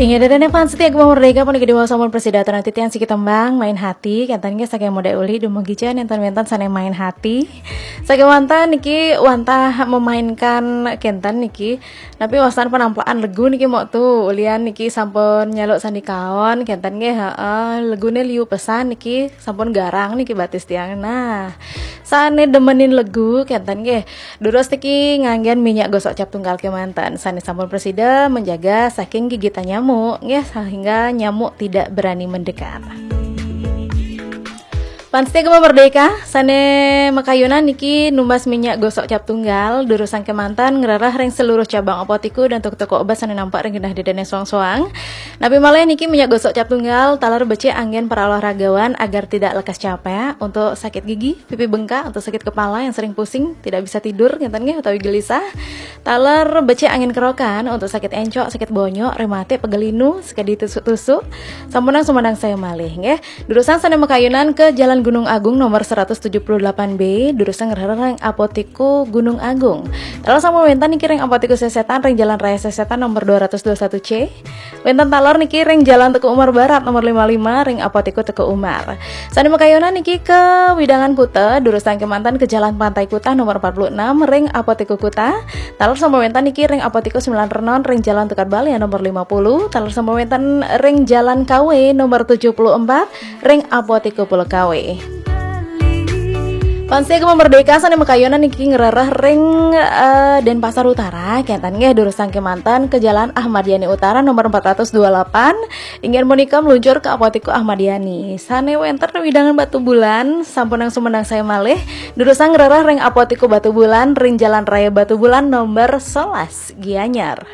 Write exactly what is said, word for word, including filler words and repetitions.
Inggih, ida dané fans setia Gema Merdeka, puniki diwaos sampun prasida atur titiang siki tembang Main Hati, kénten nggih saking Modé Uli dumugi cenah nénten wénten sané main hati. Sakéwanten niki wantah memainkan kénten niki. Napi wastan penamplakan legu niki mok tu, ulian niki sampun nyaluk sandikaon, kénten nggih, heeh, leguné liu pesan niki sampun garang niki batis tiang. Nah, sané demenin legu kénten nggih. Durus niki nganggén minyak gosok cap tunggal kémanten. Sané sampun prasida menjaga saking gigitan nyamuk nggih, sehingga nyamuk tidak berani mendekat. Fans setia Gema Merdeka, sané makayunan niki numbas minyak gosok cap tunggal, durusang kémanten ngrereh ring seluruh cabang apotiku dan toko-toko obat sané nampek ring genah ida dané soang-soang. Napi malih niki minyak gosok cap tunggal, taler becik anggén para olahragawan agar tidak lekas capek, untuk sakit gigi, pipi bengkak, untuk sakit kepala yang sering pusing, tidak bisa tidur, ngénten nggih, utawi gelisah. Taler becik anggén kerokan untuk sakit encok, sakit bonyok, rematik, pegal linu, sekadi tusuk-tusuk. Sampunang sumedang saya malih nggih. Durusang sané makayunan ke Jalan Gunung Agung nomor seratus tujuh puluh delapan B, durusang ngrereh ring Apotiku Gunung Agung. Taler sampun wénten niki ring Apotiku Sesetan ring Jalan Raya Sesetan nomor dua ratus dua satu C. Wénten taler niki ring Jalan Teuku Umar Barat nomor lima lima ring Apotiku Teuku Umar. Sané makayunan niki ke Widangan Kuta, durusang kémanten ke Jalan Pantai Kuta nomor empat puluh enam ring Apotiku Kuta. Taler sampun wénten niki ring Apotiku Sembilan Renon ring Jalan Tukad Balian nomor lima puluh. Taler sampun wénten ring Jalan Kawe nomor tujuh puluh empat ring Apotiku Pulau Kawe. Fans setia Gema Merdeka, sané makayunan niki ngrereh ring, eh, Denpasar Utara, kénten nggih durusang kémanten ke Jalan Ahmad Yani Utara nomor empat ratus dua puluh delapan, inggih punika meluncur ke Apotiku Ahmad Yani. Sané wénten wewidangan Batubulan, sampunang sumedang saya malih, durusang ngrereh ring Apotiku Batubulan ring Jalan Raya Batubulan nomor sebelas, Gianyar.